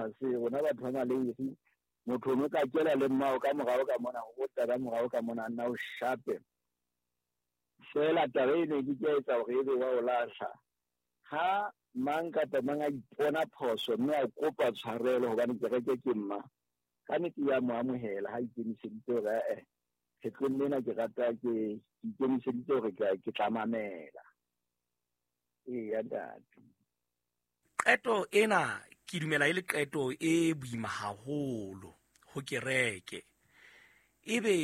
campus, rona batho ba maleiri, motho o ka kela le mmao ka morao ka mona, go taba morao ka mona, nna o shape. Fela taba eno ke ke etsa hore ebe wa o lahla. Ha mang kapa mang a ipona phoso mme a kopa tshwarelo hobane kereke ke mma, ka nnete ya mo amohela ha ikemiseditse hore kgetlong lena ke rata ke ikemiseditse hore ke tla mamela. Eya ntate. Qeto ena ke dumela e le qeto e boima haholo ho kereke. Ebe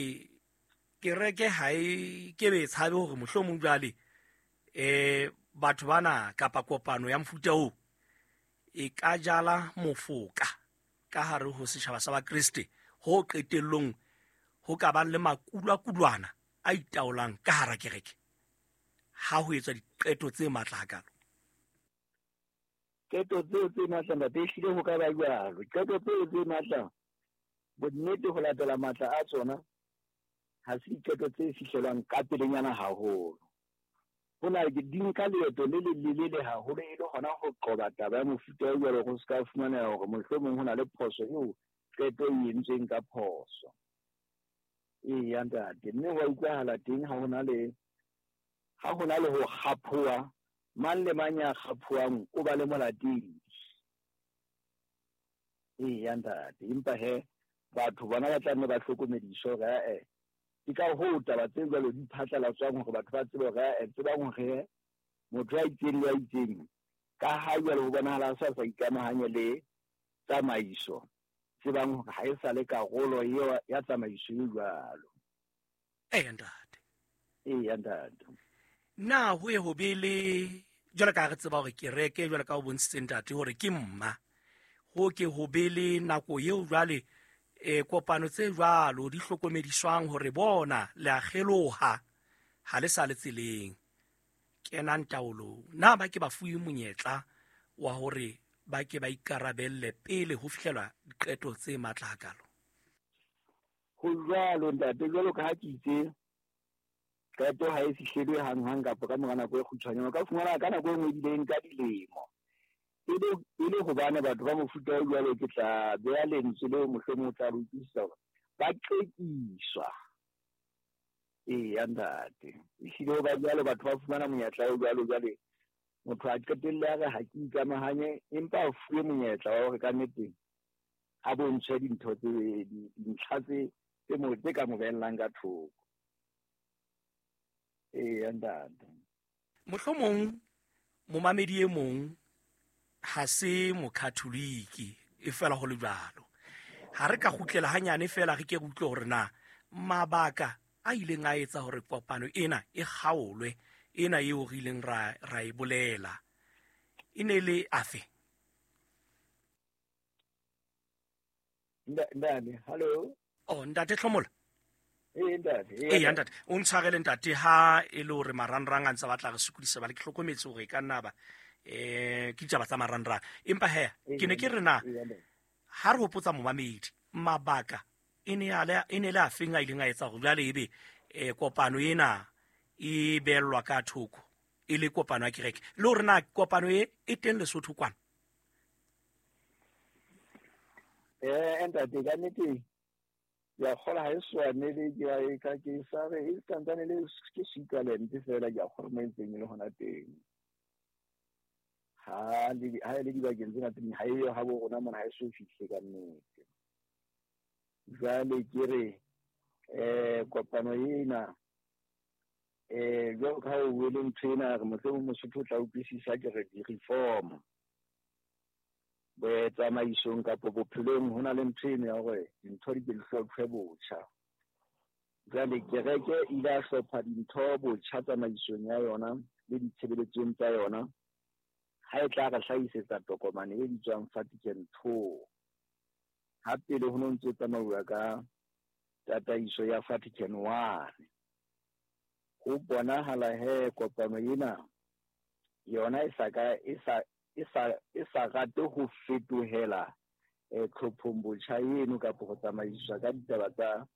kereke ha e ke be tshabe hore mohlomong jwale batho bana kapa kopano ya mofuta oo e ka jala mofoka ka hare ho setjhaba sa Bakreste, ho qetellong ho ka bang le makulwakulwana a itaolang ka hara kereke ha ho etswa diqeto tse matla hakalo. Qeto tseo tse matla ntate, ehlile ho ka ba jwalo. Qeto tseo tse matla, bonnete ho latela matla a tsona, ha se diqeto tse fihlelwang ka pelenyana haholo. Ho na ke di nka leeto le le lelele haholo e le hona ho qoba taba ya mofuta o jwalo, go se ka fumaneha hore mohlomong ho na le phoso eo qeto e entsweng ka phoso. Eya ntate, mme ho a utlwahala teng ha hona le ho kgaphoha, mang le mang ya kgaphohang o ba le molatedi. Eya ntate, empa he batho bona ba tla nne ba hlokomediswe hore ke ka hoo taba tse jwalo di phatlalatswang hore batho ba tsebe hore tsebang hore motho ya itseng le ya itseng ka ha jwale ho bonahala a sa ikamahanye le tsamaiso, tsebang hore ha e sa le karolo eo ya tsamaiso e jwalo. Eya ntate. Eya ntate. Na ho ye ho be le jwalo ka re tseba hore kereke jwalo ka o bontshitse ntate hore ke mma, ho ke ho be le nako eo jwale kopano tse jwalo di hlokomediswang hore bona le a kgeloha ha le sa le tseleng, kenang taolong. Na ba ke ba fuwe monyetla wa hore ba ke ba ikarabelle pele ho fihlelwa diqeto tse matla hakalo? Ho jwalo ntate, jwalo ka ha ke itse qeto ha e fihlelwe hanghang kapa ka mora nako e kgutshwanyane, o ka fumana ka nako e nngwe ebile e nka dilemo. E le hobane batho ba mofuta o jwalo, ke tla beha lentswe leo mohlomong o tla re utlwisisa hore ba qekiswa. Eya ntate, ehlile ho ba jwalo, batho ba fumana monyetla o jwalo, jwale motho a qetelle a re ha ke ikamahanye, empa a fuwe monyetla wa hore ka nnete a bontshwe dintho tse dintlha tse ka mo behellang ka thoko. Eya ntate. Mohlomong momamedi e mong ha se mokatholiki, e fela ho le jwalo. Ha re ka kgutlela hanyane fela re ke re utlwe hore na mabaka a ileng a etsa hore kopano ena e kgaolwe, ena eo re ileng ra e bolela, e ne le afe? Ntate, hello. Oh, ntate Hlomola. Ee ntate. Ee ntate, o ntshwarele ntate ha e le hore marangrang a ntse batla re sokodisa, ba le ke hlokometse hore e ka nna ba ke ditaba tsa marangrang. Empa he, ke ne ke re na ha re hopotsa momamedi mabaka e ne le a feng a ileng a etsa hore jwale ebe kopano ena e beellwa ka thoko e le kopano ya kereke, le hore na kopano e teng Lesotho kwana? Ntate, ka nnete ke a kgolwa ha e swanele, ke ka ke sa re e santsane le ke Switzerland fela, ke a kgolwa mo e ntseng e le hona teng. Ha e le dibakeng tsena tse ding ha eyo ha bo rona mona, ha e so fihle ka nnete. Jwale ke re kopano ena jwalo ka ha o buile ntho ena, re mohlomong Mosotho o tla utlwisisa, ke re di-reform tsamaisong kapa bophelong ho na le ntho eno ya hore dintho di ke di hlophe botjha. Jwale kereke e ile ya hlopha dintho botjha tsamaisong ya yona le ditshebeletsong tsa yona, ha e tla re hlahisetsa tokomane e bitswang Vatican II. Ha pele ho no ntse tsamauwa ka tataiso ya Vatican I. Ho bonahala he kopano ena yona e sa rate ho fetohela tlhophong botjha eno kapa ho tsamaiswa ka ditaba tsa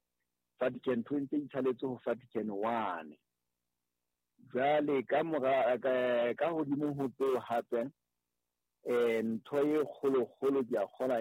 Vatican II, ntse itshalletse ho Vatican I. Jwale ka mora ka hodimo ho tseo hape ntho e kgolo-kgolo ke a kgolwa